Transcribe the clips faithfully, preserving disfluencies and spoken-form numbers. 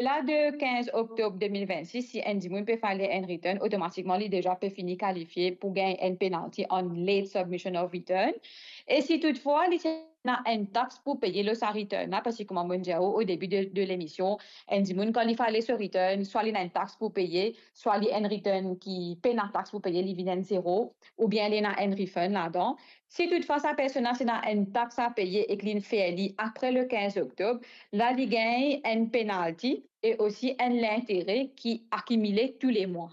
Odelà de kinz oktob de mil vennsis, si enn dimoun pe file enn return, otomatikman li deza pe fini kalifie pou gagn enn penalti an late submission of return. E si toutfwa li ti ena enn tax pou peye lor sa return la, parski kouma mo'nn dir ou o debi de, de lemision, enn dimoun kan li file so return, swa li ena enn tax pou peye, swa li enn return ki pena tax pou peye, li vinn enn zero, oubien li ena enn refund ladan. Si toutfwa sa personn la ti ena enn tax a peye ek linn fer li apre le kinz oktob, la li gagn enn penalti e osi enn lintere ki akimile tou le mwa.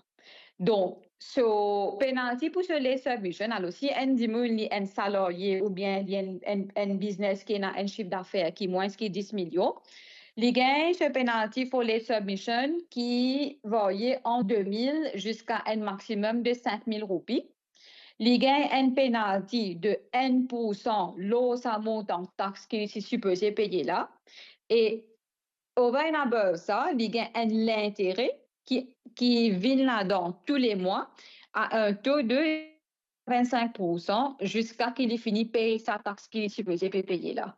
Donk, so penalti pou so late submission, alor si enn dimoun li enn salarye oubien li enn, enn, enn biznes ki ena enn sif dafer ki mwins ki dis milion, li gagn so penalti for late submission ki varye ant de mil ziska enn maximum de sink mil roupi. Li gagn enn penalti de enn poursan lor sa montan tax ki li ti sipoze peye la. E over and above sa, li gagn enn lintere ki, ki vinn ladan tou le mwa a enn to de vennsenk poursan ziska ki li fini pey sa tax ki li sipoze pe peye la.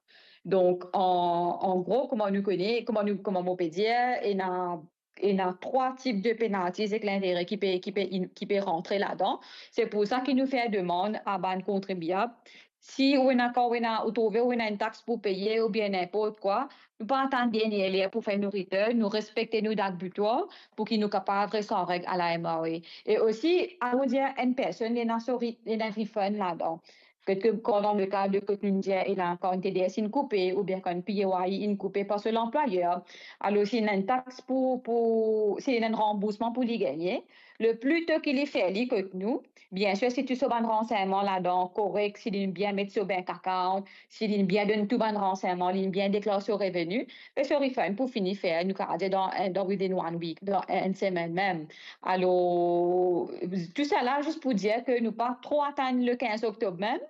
Donk, an, an gro, kouma nou kone, kouma nou, kouma mo pe dir, ena, ena trwa tip de penalties ek lintere ki pe, ki pe in-, ki pe rantre ladan. Se pou sa ki nou fer demann a bann kontribiab, si ou ena, kan ou ena, ou trouve ou ena enn tax pou peye oubien ninport kwa, nou pa atann dernie ler pou fer nou return, nou respekte nou dat bitwar pou ki nou kapav res an reg a la M R A. E osi, admeton enn personn li ena so re-, li ena refund ladan. Petret ke kan dan le ka de kot nou dir, ena kan T D S inn koupe, oubien kan P A Y inn koupe par so lanplwayer, alor si ena enn tax pou, pou, si ena enn ranboursman pou li gagne, le pli to ki li fer li kot nou, biensir, si tou so bann ransegnman ladan korek, si li bien met so bank account, si li bien donn tou bann ransegnman, li bien deklar so reveni, be so refund pou fini fer, nou kapav dir dan, dan within one week, dan enn semenn mem. Alor, tou sa la, zis pou dir ke nou pa tro atann le kinz oktob mem,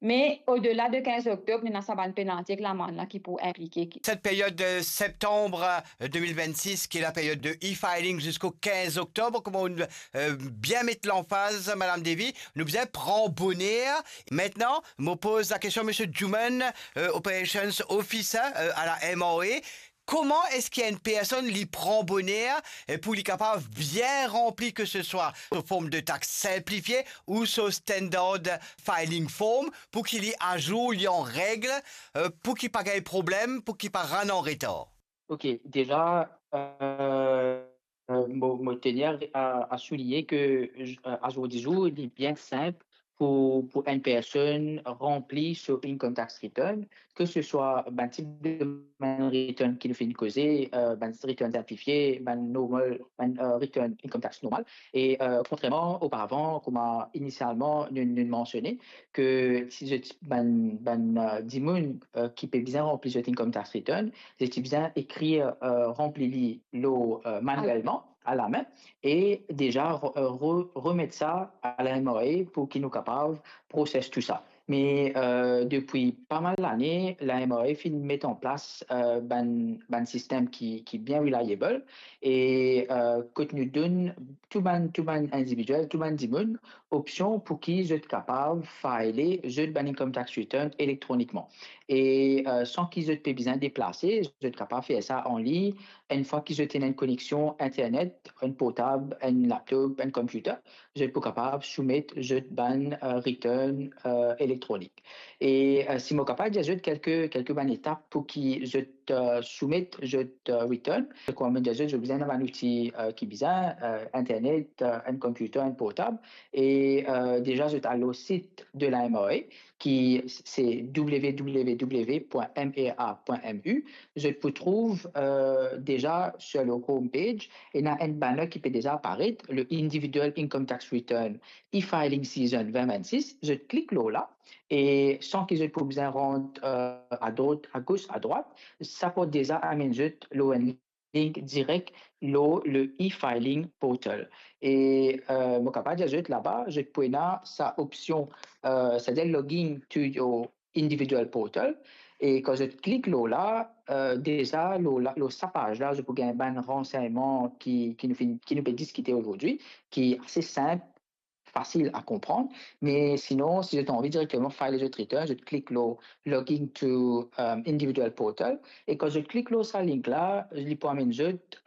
me odela de kinz oktob, nou ena sa bann penalti ek lamann la ki pou inplike. Cette période de septembre, euh, deux mille vingt-six, qui est la période de e-filing jusqu'au quinze octobre, comme on, euh, bien met l'emphase, Madame Davy, nou bizin pran boner. Maintenant, mo poz la question, Monsieur Juman, euh, Operations Officer, euh, à la M R A. Kouma eski enn personn li pran boner, eh, pou li kapav bien ranpli, ke se swa so form de tax sinplifie ou so standard filing form, pou ki li azour, li an reg, euh, pou ki pa gagn problem, pou ki pa rann an retar? Ok, deza, euh, euh, mo, mo tenir a, a souligne ke, euh, azourdizour, li bien sinp pou, pou enn personn ranpli so income tax return, ke se swa bann tip de bann return ki nou finn koze, euh, bann return sinplifie, bann normal, bann, euh, return income tax normal. E, euh, kontrerman oparavan, kouma inisialman nou, nou mansione, ke si zot bann, bann, euh, dimoun, euh, ki pe bizin ranpli zot income tax return, zot ti bizin ekrir, euh, ranpli li lor, euh, manuelman, a lame, e deza re-, euh, re-, remet sa a la M R A pou ki nou kapav proses tou sa. Me, euh, depi pa mal lane, la M R A finn met an plas, euh, bann, bann sistem ki, ki bien reliable, e, euh, kot nou donn tou bann, tou bann individiel, tou bann dimoun opsion pou ki zot kapav file zot bann income tax return elektronikman. E, euh, san ki zot pe bizin deplase, zot kapav fer sa anlign, enn fwa ki zot ena enn koneksion internet, enn portab, enn laptop, enn computer, zot pou kapav soumet zot bann, euh, return, euh, elektronik. E, euh, si mo kapav dir zot kelke, kelke bann etap pou ki zot, euh, soumet zot, euh, return, kouma mo dir zot, zot bizin ena bann outi, euh, ki bizin, euh, internet, euh, enn computer, enn portab, e, euh, deza zot al lor sit de la M R A, ki se W W W point M R A point M U, zot pou trouv, euh, deza sur le home page, ena enn banner ki pe deza aparet, le Individual Income Tax Return E-Filing Season vingt vingt-six, zot klik lor la, e san ki zot pou bizin rant, euh, adrot, agos, adrwat, sa pou deza amenn zot lor enn link direk lor le e-filing portal. E, euh, mo kapav dir zot laba, zot pou ena sa opsion, euh, savedir logging to your individual portal. E kan zot klik lor la, euh, deza lor la, lor sa paz la, zot pou gagn bann ransegnman ki, ki nou finn, ki nou pe diskite azordi, ki ase sinp, fasil a konprann, me sinon, si zot anvi direkteman file zot return, zot klik lor Logging to, um, Individual Portal, e kan zot klik lor sa link la, li pou amenn zot,